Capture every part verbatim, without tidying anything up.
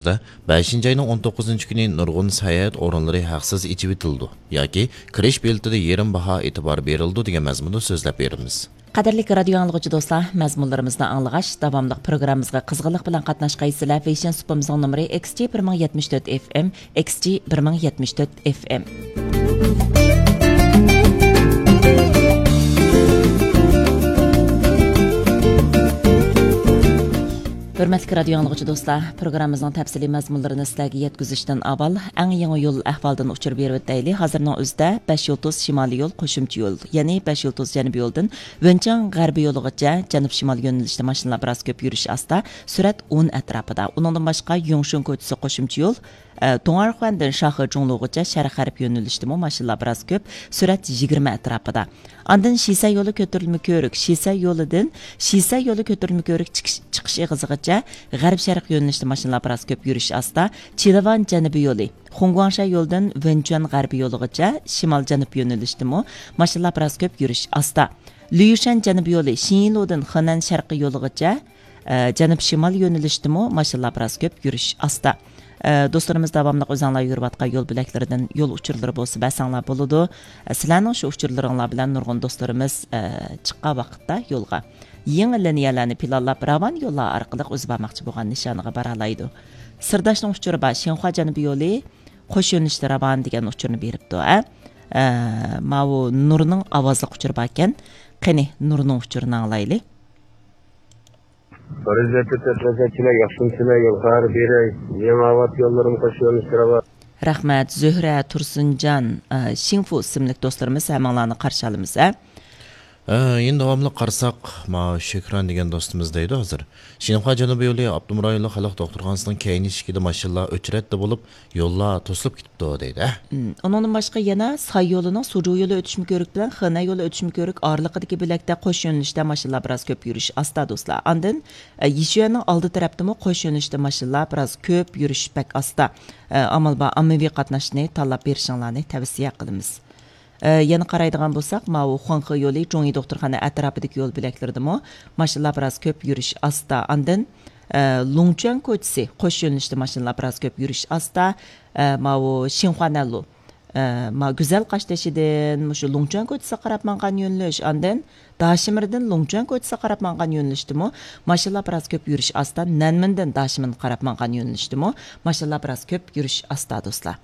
بەشىنچى ئاينىڭ ئون توققۇزىنچى كۈنى نۇرغۇن ساياھەت ئورۇنلىرى ھەقسىز ئېچىۋېتىلىدۇ ياكى كىرىش بېلىتىدە يېرىم باھا ئېتىبار بېرىلىدۇ دېگەن مەزمۇندا سۆزلەپ بېرىمىز. قەدىرلىك رادىيو ئاڭلىغۇچى دوستلار، مەزمۇنلىرىمىزنى ئاڭلىغاچ، داۋاملىق پروگراممىمىزغا قىزغىنلىق بىلەن قاتناشقايسىلەر. ۋېيشىن سۇپىمىزنىڭ نومۇرى ئېكس جى بىر مىڭ يەتمىش تۆت ئېف ئېم، ئېكس جى بىر مىڭ يەتمىش تۆت ئېف ئېم. ھۆرمەتلىك رادىيو ئاڭلىغۇچى دوستلار، پروگراممىمىزنىڭ تەپسىلىي مەزمۇنلىرىنى سىلەرگە يەتكۈزۈشتىن ئاۋۋال، ئەڭ يېڭى يول ئەھۋالىدىن ئۇچۇر بېرىۋېتەيلى. ھازىرنىڭ ئۆزىدە بەش يۇلتۇز شىمالىي يول قوشۇمچە يول، يەنى بەش يۇلتۇز جەنۇبىي يولدىن ۋېنچۇەن غەربىي يولىغىچە جەنۇب شىمال يۆنىلىشتە ماشىنىلار بىراز كۆپ، يۈرۈش ئاستا، سۈرئەت ئون ئەتراپىدا. ئۇنىڭدىن باشقا، يۇڭشۇن كوچىسى قوشۇمچە يول، ئە، دۇڭئەرخۇەندىن شاخې جۇڭلۇغىچە شەرق غەرب يۆنىلىشتىمۇ ماشىنىلار بىراز كۆپ، سۈرئەت يىگىرمە ئەتراپىدا. ئاندىن شىسەي يولى كۆتۈرۈلمە كۆۋرۈك، شىسەي يولىدىن، شىسەي يولى كۆتۈرۈلمە كۆۋرۈك چىقىش، چىقىش ئېغىزىغىچە غەرب شەرق يۆنىلىشتە ماشىنىلار بىراز كۆپ، يۈرۈش ئاستا. چىلىۋان جەنۇبىي يولى، خۇڭگۇاڭشەي يولىدىن ۋېنچۈەن غەربىي يولىغىچە شىمال جەنۇب يۆنىلىشتىمۇ ماشىنىلار بىراز كۆپ، يۈرۈش ئاستا. ليۇشەن جەنۇبىي يولى، شىنلۇدىن خېنەن شەرقىي يولىغىچە، ئە، جەنۇب شىمال يۆنىلىشتىمۇ ماشىنىلار بىراز كۆپ، يۈرۈش ئاستا. ئە، دوستلىرىمىز داۋاملىق ئۆزۈڭلار يۈرۈۋاتقان يول بۆلەكلىرىدىن يول ئۇچۇرلىرى بولسا بەرسەڭلار بولىدۇ. ئە، سىلەرنىڭ شۇ ئۇچۇرلىرىڭلار بىلەن نۇرغۇن دوستلىرىمىز، ئە، چىققان ۋاقىتتا يولغا يېڭى لىنىيەلەرنى پىلانلاپ، راۋان يوللار ئارقىلىق ئۆزى بارماقچى بولغان نىشانىغا بارالايدۇ. سىرداشنىڭ ئۇچۇرى بار، شىنخۇا جەنۇبىي يولى قوش يۆنىلىشتە راۋان دېگەن ئۇچۇرنى بېرىپتۇ، ھە؟ ئە، ماۋۇ نۇرنىڭ ئاۋازلىق ئۇچۇرى باركەن. قېنى، نۇرنىڭ ئۇچۇرىنى ئاڭلايلى. پەرىزەتتە تەپلەسەكچىلەر ياخشىمۇسىلەر، يول خەۋىرى بېرەي. يېڭى ئاۋات يوللىرىمۇ قوش يۆنىلىشتە راۋان. رەھمەت، زۆھرە تۇرسۇنجان، ئە، شىڭفۇ ئىسىملىك دوستلىرىمىز، ھەممىڭلارنى قارشى ئالىمىز، ھە؟ ئە، يەنە داۋاملىق قارىساق، ما شۆھران دېگەن دوستىمىز دەيدۇ ھازىر. شىنخۇا جەنۇبىي يولى ئاپتونوم رايونلۇق خەلق دوختۇرخانىسىنىڭ كەينى ئىشىكىدە ماشىنىلار ئۆچرەتتە بولۇپ، يوللار توسۇلۇپ كېتىپتۇ دەيدۇ. ھە؟ مم. ئۇنىڭدىن باشقا يەنە ساي يولىنىڭ سۇجۇ يولى ئۆتۈشمە كۆۋرۈك بىلەن خېنەن يولى ئۆتۈشمە كۆۋرۈك ئارىلىقىدىكى بۆلەكتە قوش يۆنىلىشتە ماشىنىلار بىراز كۆپ، يۈرۈش ئاستا دوستلار. ئاندىن، ئە، يىشۈەننىڭ ئالدى تەرەپتىمۇ قوش يۆنىلىشتە ماشىنىلار بىراز كۆپ، يۈرۈش بەك ئاستا. ئە، ئامال بار ئاممىۋى قاتناشنى تاللاپ بېرىشىڭلارنى تەۋسىيە قىلىمىز. ئە، يەنە قارايدىغان بولساق، ماۋۇ خۇاڭخې يولى، جۇڭيى دوختۇرخانا ئەتراپىدىكى يول بۆلەكلىرىدىمۇ ماشىنىلار بىراز كۆپ، يۈرۈش ئاستا. ئاندىن، ئە، لۇڭچۈەن كوچىسى قوش يۆنىلىشتە ماشىنىلار بىراز كۆپ، يۈرۈش ئاستا. ئە، ماۋۇ شىنخۇا نەنلۇ، ئە، ما گۈزەل قاشتېشىدىن مۇشۇ لۇڭچۈەن كوچىسىغا قاراپ ماڭغان يۆنىلىش، ئاندىن داشىمىردىن لۇڭچۈەن كوچىسىغا قاراپ ماڭغان يۆنىلىشتىمۇ ماشىنىلار بىراز كۆپ، يۈرۈش ئاستا. نەنمىندىن داشىمىنغا قاراپ ماڭغان يۆنىلىشتىمۇ ماشىنىلار بىراز كۆپ، يۈرۈش ئاستا دوستلار.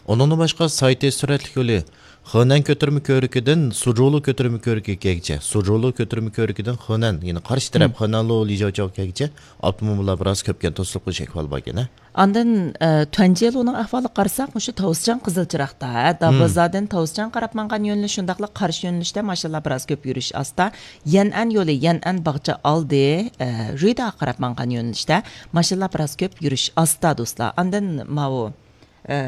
ئۇنىڭدىن باشقا، ساي تېز سۈرئەتلىك يولى خېنەن كۆتۈرمە كۆۋرۈكىدىن سۇجۇلۇ كۆتۈرمە كۆۋرۈكىگىچە، سۇجۇلۇ كۆتۈرمە كۆۋرۈكىدىن خېنەن، يەنى قارشى تەرەپ، مم، خېنەنلۇ لىجاۋچاۋ كەگىچە ئاپتوموبىللار بىراز كۆپكەن، توسۇلۇپ قېلىش ئەھۋالى باركەن، ھە؟ ئاندىن، ئە، تۈەنجيېلۇنىڭ ئەھۋالىغا قارىساق، مۇشۇ تاۋزچاڭ قىزىل چىراغدا، ھە، مم، دابازادىن تاۋزچاڭ قاراپ ماڭغان يۆنىلىش، شۇنداقلا قارشى يۆنىلىشتە ماشىنىلار بىراز كۆپ، يۈرۈش ئاستا. يەنئەن يولى، يەنئەن باغچە ئالدى، ئە، رۈيداغا قاراپ ماڭغان يۆنىلىشتە ماشىنىلار بىراز كۆپ، يۈرۈش ئاستا دوستلار. ئاندىن ماۋۇ، ئە،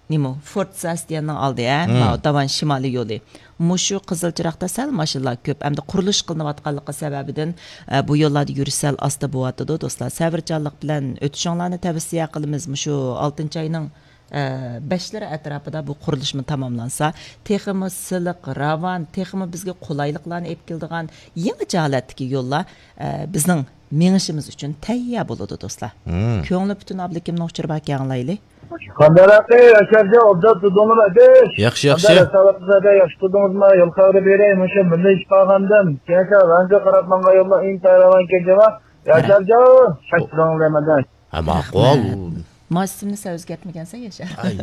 نېمە، فورت ساستيەننىڭ ئالدى، ھە؟ مم. ماۋۇ داۋان شىمالىي يولى. مۇشۇ قىزىل چىراغدا سەل ماشىنىلار كۆپ ھەمدە قۇرۇلۇش قىلىنىۋاتقانلىقى سەۋەبىدىن، ئە، بۇ يوللاردا يۈرۈش سەل ئاستا بولۇۋاتىدۇ، دوستلار. سەۋرچانلىق بىلەن ئۆتۈشۈڭلارنى تەۋسىيە قىلىمىز. مۇشۇ ئالتىنچى ئاينىڭ، ئە، بەشلىرى ئەتراپىدا بۇ قۇرۇلۇشمۇ تاماملانسا، تېخىمۇ سىلىق، راۋان، تېخىمۇ بىزگە قولايلىقلارنى ئېلىپ كېلىدىغان يېڭىچە ھالەتتىكى يوللار، ئە، بىزنىڭ مېڭىشىمىز ئۈچۈن تەييار بولىدۇ، دوستلار. مم. كۆڭلى پۈتۈن ئابلىكىمنىڭ ئۇچۇرى باركەن، ئاڭلايلى. قانداق ئەقىل، ياشارجان، ئوبدان تۇردۇڭلارمۇ ئەدىش؟ ياخشى، ياخشى. قانداق ھېساباتىڭىزدا، ياخشى تۇردىڭىزمۇ؟ يول خەۋىرى بېرەي، مۇشۇ مىللىي ئىشقا قالغاندىن كېيىن ۋەنگە قاراپ ماڭغان يوللار ئىنتايىن راۋان ئىكەن جاۋا. ياشارجان، ياخشى تۇردۇڭلار دەيمەن. ھە، ماقۇل. رەھمەت. ماس ئىسىمنى سەن ئۆزگەرتمىگەنسەن، ياشار. ئاي،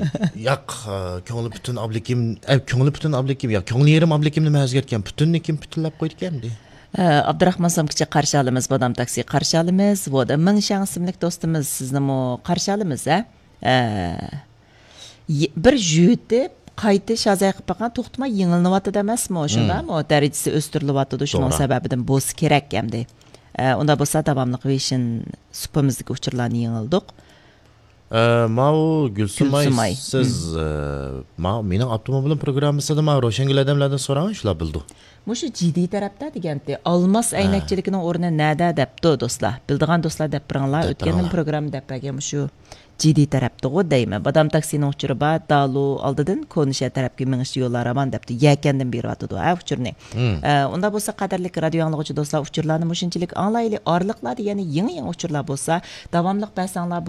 ياق، ئە، كۆڭلى پۈتۈن ئابلىكىم، ئە، كۆڭلى پۈتۈن ئابلىكىم، ياق، كۆڭلى يېرىم ئابلىكىمنى مەن ئۆزگەرتكەن. پۈتۈننى كىم پۈتۈنلەپ قويدىكەن ئەمدى؟ ئە، ئابدۇراخمان سومكىچى قارشى ئالىمىز، بادام تاكسى قارشى ئالىمىز، ۋودا مىڭشياڭ ئىسىملىك دوستىمىز، سىزنىمۇ قارشى ئالىمىز، ھە؟ ئە، ي-، بىر يۆتۈپ، قايتا شازاي قىلىپ باققان، توختىماي يېڭىلىنىۋاتىدۇ ئەمەسمۇ؟ مم. شۇنداقمۇ؟ دەرىجىسى ئۆستۈرۈلۈۋاتىدۇ، شۇنىڭ توغرا. سەۋەبىدىن بولسا كېرەك ئەمدى. ئە، ئۇنداق بولسا، داۋاملىق ۋېيشىن سۇپىمىزدىكى ئۇچۇرلارنى يېڭىلدۇق. ئە، ماۋۇ گۈلسۇماي، گۈلسۇماي. سىز، ئە، ماۋۇ مېنىڭ ئاپتوموبىلىم پروگراممىسىدا ماۋۇ روشەنگۈل ئادەملەردىن سوراڭ، شۇلار بىلىدۇ. مۇشۇ جىدىي تەرەپتە دېگەنتى، ئالماس ئەينەكچىلىكىنىڭ ئورنى نەدە دەپتۇ دوستلار. بىلىدىغان دوستلار دەپ بېرىڭلار. دەپ ئۆتكەندىن بېرىڭلار. پروگرامما دەپ بەرگەن مۇشۇ جىدىي تەرەپتىغۇ دەيمەن. بادام تاكسىنىڭ ئۇچۇرى بار، دالۇ ئالدىدىن كونا شەھەر تەرەپكە مېڭىشتا يوللار راۋان دەپتۇ. يەكەندىن بېرىۋاتىدۇ ھە ئۇچۇرنى. ئە، ئۇنداق بولسا قەدىرلىك رادىيو ئاڭلىغۇچى دوستلار، ئۇچۇرلارنى مۇشۇنچىلىك ئاڭلايلى. ئارىلىقلاردا يەنە يېڭى يېڭى ئۇچۇرلار بولسا داۋاملىق بەرسەڭلار